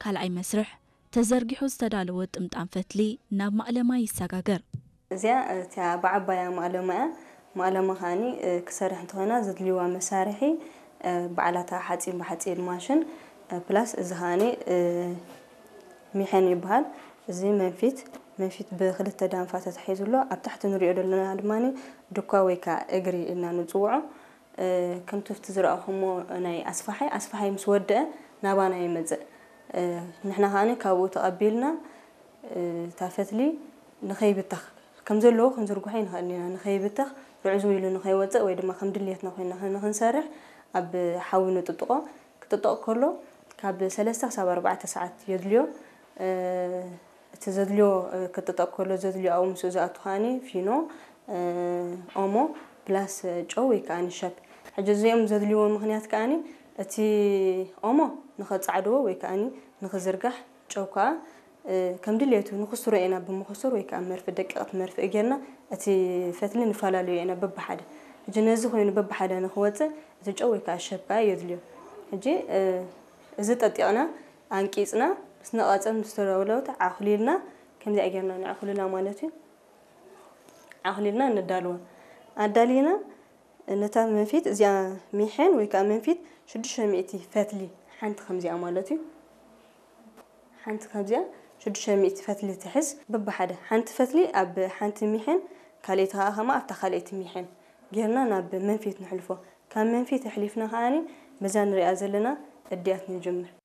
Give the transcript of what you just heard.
ካልኣይ መስርሕ፣ ተዘርጊሑ ዝተዳለወ ጥምጣም ፈትሊ ናብ ማእለማ ይሰጋገር። እዚኣ እቲኣ ብዓባያ ማእለማ እያ። ማእለማ ከዓኒ ክሰርሕ እንተኾይና ዘድልይዋ መሳርሒ፣ በዓላታ ሓፂን ብሓፂን ማሽን፣ ፕላስ እዚ ከዓኒ ሚሐን ይበሃል። እዚ መንፊት መንፊት ብክልተ ዳንፋ ተታሒዙ ኣሎ። ኣብ ታሕቲ ንሪኦ ዘለና ድማ ድኳ ወይ ከዓ እግሪ ኢልና ንፅውዖ። ከምቲ ኣብቲ ዝረኣኹሞ ናይ ኣስፋሓይ ኣስፋሓይ ምስ ወደአ ናባና ይመፅእ። ንሕና ከዓኒ ካብኡ ተቐቢልና እታ ፈትሊ ንኸይብተኽ ከም ዘለዎ ክንዝርግሖ ይንኽእል ኢና። ንኸይብተኽ ርዕዝው ኢሉ ንኸይወፅእ ወይ ድማ ከም ድልየትና ኮይና ንኽንሰርሕ ኣብ ሓዊ ንጥጥቖ። ክጥጠቕ ከሎ ካብ ሰለስተ ክሳብ ኣርባዕተ ሰዓት የድልዮ። እቲ ዘድልዮ ክጥጠቕ ከሎ ዘድልዮ ኣብኡ ምስኡ ዝኣቱ ከዓኒ ፊኖ፣ ኦሞ ፕላስ ጨው ወይ ከዓ ሸብ። ሕጂ እዚኦም ዘድልይዎ ምኽንያት ከዓኒ እቲ ኦሞ ንኸፃዕድዎ ወይ ከዓኒ ንኽዝርጋሕ፣ ጨው ከዓ ከም ድሌቱ ንኽስሮ ኢና ብምኽሱር ወይ ከዓ መርፍእ ደቂቕቲ መርፍእ ጌርና እቲ ፈትሊ ንፈላለዮ ኢና በብሓደ። ሕጂ ነዚ ኮይኑ በብሓደ ንኽወፅእ እቲ ጨው ወይ ከዓ ሸብ ከዓ የድልዮ። ሕጂ እዚ ጠጢቕና ኣንቂፅና ምስ ነቐፀት ምስ ተለውለወት ዓኹሊልና ከምዚኣ ጌርና ነዕኹልላ ማለት እዩ። ዓኹሊልና ነዳልዋ። ኣዳሊና ነታ መንፊት እዚኣ ሚሐን ወይ ከዓ መንፊት ሽዱሽተ ሚእቲ ፈትሊ ሓንቲ ከምዚኣ ማለት እዩ። ሓንቲ ካብዚኣ ሽዱሽተ ሚእቲ ፈትሊ ትሕዝ በብሓደ። ሓንቲ ፈትሊ ኣብ ሓንቲ ሚሐን ካልኣይቲ ከዓ ከማ ኣብታ ካልኣይቲ ሚሐን ጌርና ናብ መንፊት ንሕልፎ። ካብ መንፊት ኣሕሊፍና ከዓኒ በዛ ንሪኣ ዘለና እድያት ንጅምር።